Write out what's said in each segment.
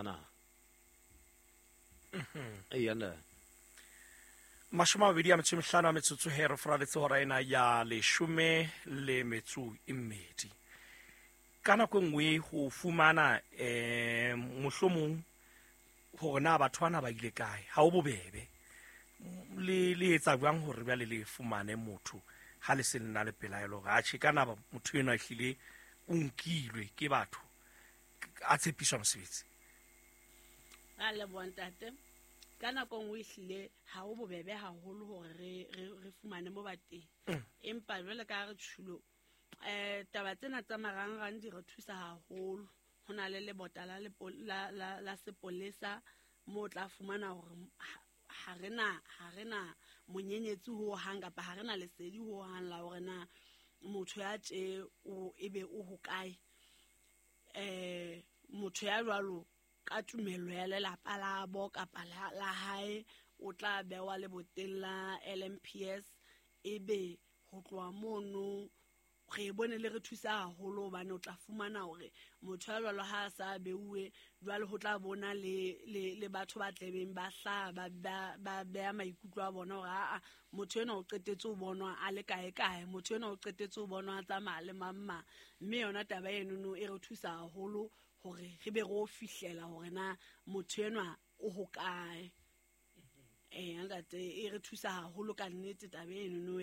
na. Eya nna. 25 a metsotso he re foraletse hora ena ya 12. Ka nako e nngwe ho fumana mohlomong hore na batho bana ba ile kae, ha ho bobebe. Le etsa jwang hore jwale le fumane motho ha le se le na le pelaelo hore atjhe ka na motho enwa ehlile o nkilwe ke batho a tshepiswa mosebetsi? Ra leboha ntate. Ka nako nngwe ehlile ha ho bobebe haholo hore re fumane mo ba teng. Empa jwale ka ha re tjhulo, taba tsena tsa marangrang di re thusa haholo. Ho na le lebota la sepolesa moo o tla fumana hore ha re na monyenyetsi ho hang kapa ha re na lesedi ho hang la hore na motho ya tje o ebe o hokae. Motho ya jwalo ka tumello ya lelapa la bo kapa la hae o tla bewa leboteng la LMPS, ebe ho tloha mono re bone le re thusa haholo hobane o tla fumana hore motho ya jwalo ha a sa beuwe jwale ho tla bona le batho ba tlebeng ba hlaha ba beha maikutlo a bona hore aa motho enwa o qetetse ho bonwa a le kae kae, motho enwa o qetetse ho bonwa a tsamaya le mang mang. Mme yona taba enono e re thusa haholo hore re be re o fihlela hore na motho enwa o hokae. Ntate, e re thusa haholo ka nnete taba enono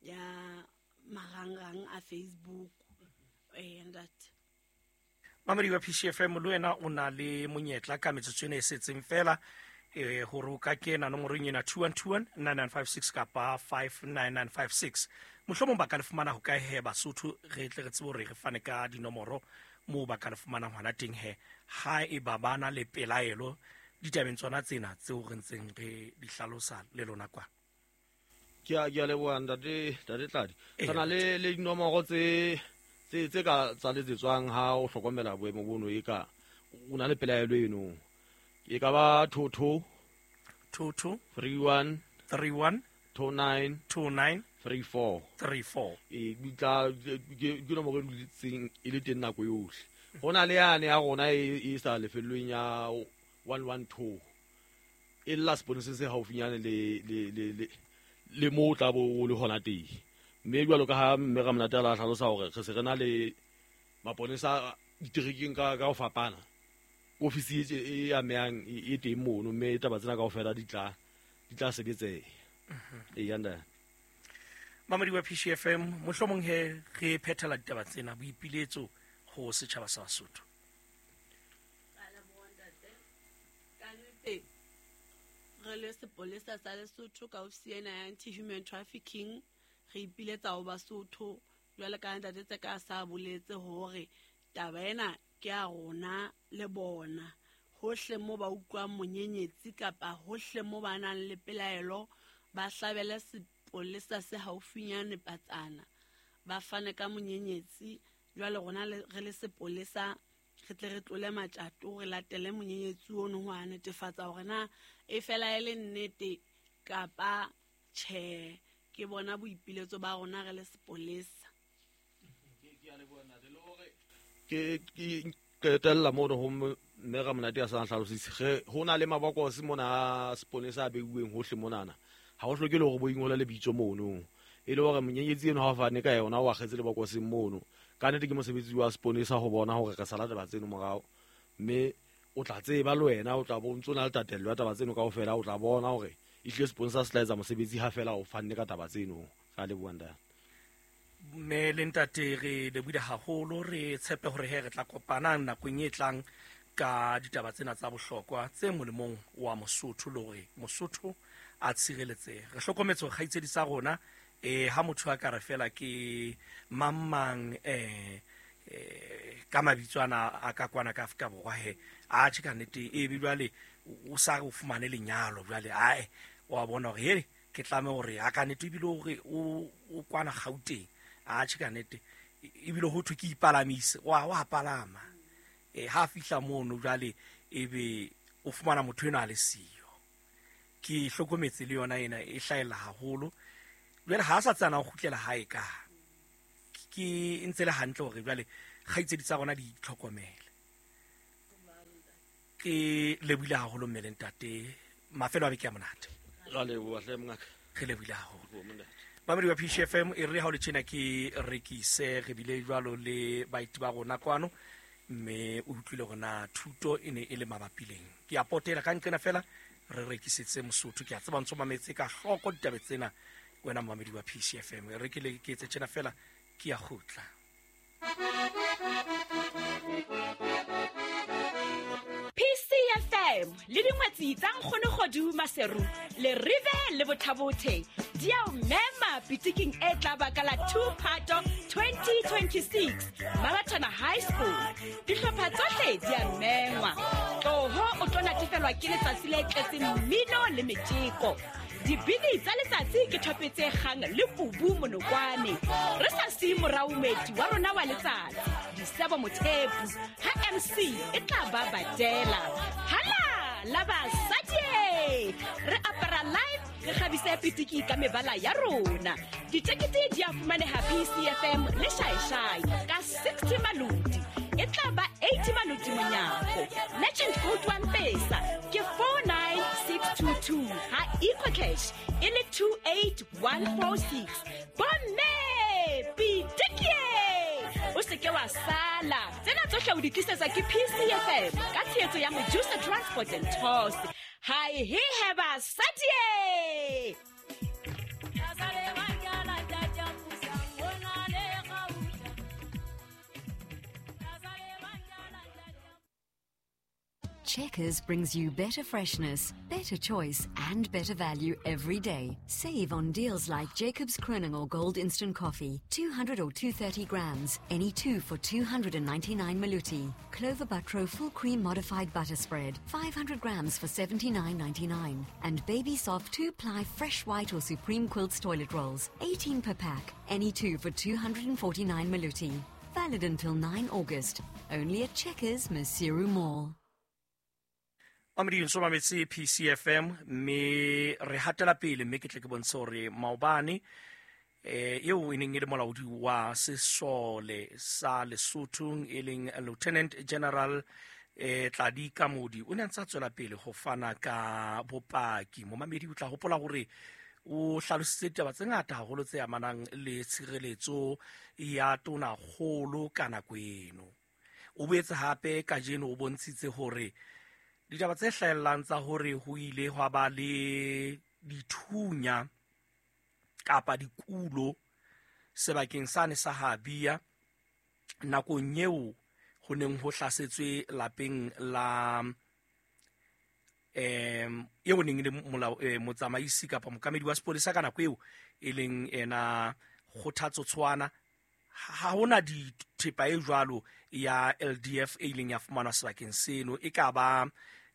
ya marangrang a Facebook. Ntate. Mamedi wa PCFM, le wena o na le monyetla ka metsotso ena e setseng fela, hore o ka kena nomorong ena 2121 9956 kapa 59956. Mohlomong ba ka le fumana ho kae he Basotho, re tle re tsebe hore re fane ka dinomoro moo ba ka le fumanang hona teng he, ha e ba ba na le pelaelo ditabeng tsona tsena tseo re ntseng re di hlalosa le lona kwa. Ke a leboha ntate Tladi. Re na le dinomoro tse ka tsa letsetswang ha o hlokomela boemo bono e ka o na le pelaelo eno. E ka ba 22 22 31 31 29 29 34 34. E tla ke nomoro e dutseng e le teng nako yohle. Ho na le yane ya rona e sa lefellweng ya 112. E lla seponesa se haufinyane le moo tla bo o le hona teng. Mme jwalo ka ha mme Ramonate a la hlalosa hore re se re na le maponesa diterekeng ka ho fapana. Ofisi e amehang e teng mono, mme taba tsena kaofela di tla sebetseha. Eya ntate. Mamedi wa PCFM, mohlomong he re phethela ditaba tsena boipiletso ho setjhaba sa Basotho. Re le sepolesa sa Lesotho ka ofisi ena ya anti-human trafficking, re ipiletsa ho Basotho jwale ka ntate tse ka sa boletse hore taba ena ke ya rona le bona. Hohle mo ba utlwang monyenyetsi kapa hohle mo ba nang le pelaelo, ba hlabele sepolesa se haufinyane patsana, ba fane ka monyenyetsi. Jwale rona re le sepolesa re tle re tlole matjato, re latele monyenyetsi ono ho a netefatsa hore na e fela e le nnete kapa tjhe. Ke bona boipiletso ba rona re le sepolesa. Ke qetella mono ho mme Ramonate a sa hlalositse. Ho na le mabokose mona a sepolesa a beuweng hohle monana. Ha ho hloke le hore bo ingole lebitso mono. E le hore monyenyetsi eno ha o fane ka yona o akgetse lebokoseng mono. Ka nnete ke mosebetsi wa sepolesa ho bona hore re sala taba tseno morao. Mme o tla tseba le wena, o tla bo ntso na le tatello ya taba tseno kaofela, o tla bona hore ehlile sepolesa se tla etsa mosebetsi ha fela o fanne ka taba tseno. Ra leboha ntate. Mme le ntate re lebohile haholo, re tshepe hore he re tla kopana nakong e tlang ka ditaba tsena tsa bohlokwa tse molemong wa Mosotho, le hore Mosotho a tshireletsehe. Re hlokometse hore kgaitsedi sa rona, ha motho a ka re fela ke mang mang, ka mabitso ana a ka kwana ka Afrika Borwa he, atjhe ka nnete e be jwale o sa re o fumane lenyalo jwale, ae wa bona hore he ke tlame hore a ka nnete ebile hore o kwana Gauteng, atjhe ka nnete ebile ho thwe ke ipalamise, wa palama. Ha fihla mono jwale ebe o fumana motho enwa a le siyo. Ke hlokometse le yona ena e hlahella haholo. Jwale ha a sa tsana ho kgutlela hae ka ke ntse le hantle hore jwale kgaitsedi tsa rona di itlhokomele. Ke lebohile haholo mme le ntate, mafelo a beke a monate. Ra leboha hle mongaka. Re lebohile haholo. Mamedi wa PCFM, e re ha o le tjena ke rekise, re bile jwalo le baeti ba rona kwano, mme o utlwile hore na thuto e ne e le mabapi leng. Ke a potela ka nqena fela re rekisetse Mosotho. Ke a tseba ntso mametse ka hloko ditaba tsena wena mamedi wa PCFM. Re ke le ke etse tjena fela, ke a kgutla. PCFM le dingwetsi tsa Nkgono Kgodu Maseru le Rive le Bothabothe di a o mema pitiking e tla ba ka la 2 Phato 2026 Mabatana High School. Dihlopha tsohle di a mengwa. Tloho o tlo natefelwa ke letsatsi le tletseng mmino le metjeko. Dibini tsa letsatsi ke thope tse kgang le kubu monokwane. Re sa siye morao moeti wa rona wa letsatsi, Disebo Mothepu, ha MC e tla ba badela. Hala la basadi, re apara live, re kgabise pitiki ka mebala ya rona. Ditekete di a fumaneha PCFM le Shaishai ka 60 maloti. E tla ba 80 maloti monyako. Merchant code wa Mpesa ke 49622, ha EcoCash e le 28146. Bomme pitiki, o se ke wa sala. Tsena tsohle o di tlisetsa ke PCFM ka tshehetso ya Mojusa Transport and Tours. Hi he he basadi. Checkers brings you better freshness, better choice, and better value every day. Save on deals like Jacobs Kroning or Gold Instant Coffee, 200 or 230 grams, any two for 299 Maluti. Clover Butro Full Cream Modified Butter Spread, 500 grams for 79.99. And Baby Soft 2-ply Fresh White or Supreme Quilts Toilet Rolls, 18 per pack, any two for 249 Maluti. Valid until 9 August. Only at Checkers, Maseru Mall. Mamedi ntso mametse PCFM, mme re hatela pele, mme ke tle ke bontshe hore maobane eo e neng e le molaodi wa sesole sa Lesotho e leng Lieutenant General Tladi Kamodi o ne a ntse a tswela pele ho fana ka bopaki. Momamedi o tla hopola hore o hlalositse ditaba tse ngata haholo tse amanang le tshireletso ya tonakgolo ka nako eno. O boetse hape kajeno o bontshitse hore ditaba tse hlahellang tsa hore ho ile hwa ba le dithunya kapa dikulo sebakeng sane sa Habia nakong eo ho neng ho hlasetswe lapeng la eo neng le molao motsamaisi kapa mokamedi wa sepolesa ka nako eo e leng ena Kgothatso Tshwana. Ha hona dithepa e jwalo ya LDF e ileng ya fumanwa sebakeng seno, e ka ba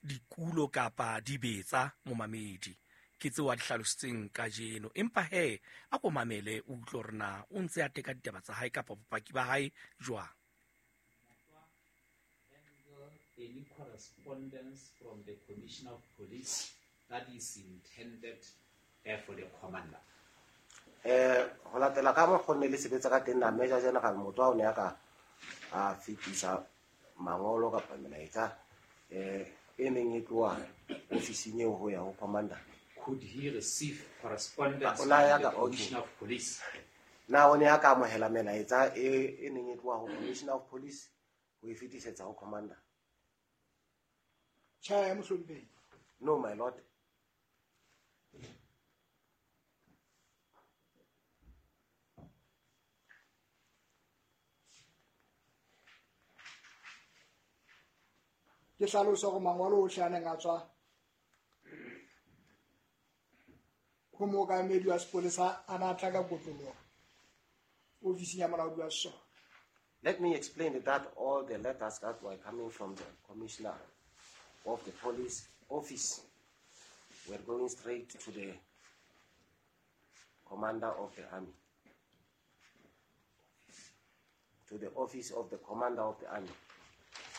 dikulo kapa dibetsa momamedi. Ke tseo a di hlalositseng kajeno. Empa he a ko mamele o utlwe hore na o ntse a teka ditaba tsa hae kapa bopaki ba hae jwang. Any correspondence from the Commissioner of Police that is intended for the commander. Ho latela ka mokgwa ne le sebetsa ka teng na Major General Motho o ne a ka a fetisa mangolo kapa melaetsa e neng e tloha ofising eo ho ya ho commander. Could he receive correspondence from the Commissioner of Police? Na o ne a ka amohela melaetsa e neng e tloha ho Commissioner of Police ho e fetisetsa ho commander? Tjhe, mohlomphehi. No, my lord. Ke hlalosa hore mangolo ohle a neng a tswa ho mookamedi wa sepolesa a na tla ka kotloloho ofising ya molaodi wa sesole. Let me explain that all the letters that were coming from the commissioner of the police office were going straight to the commander of the army, to the office of the commander of the army.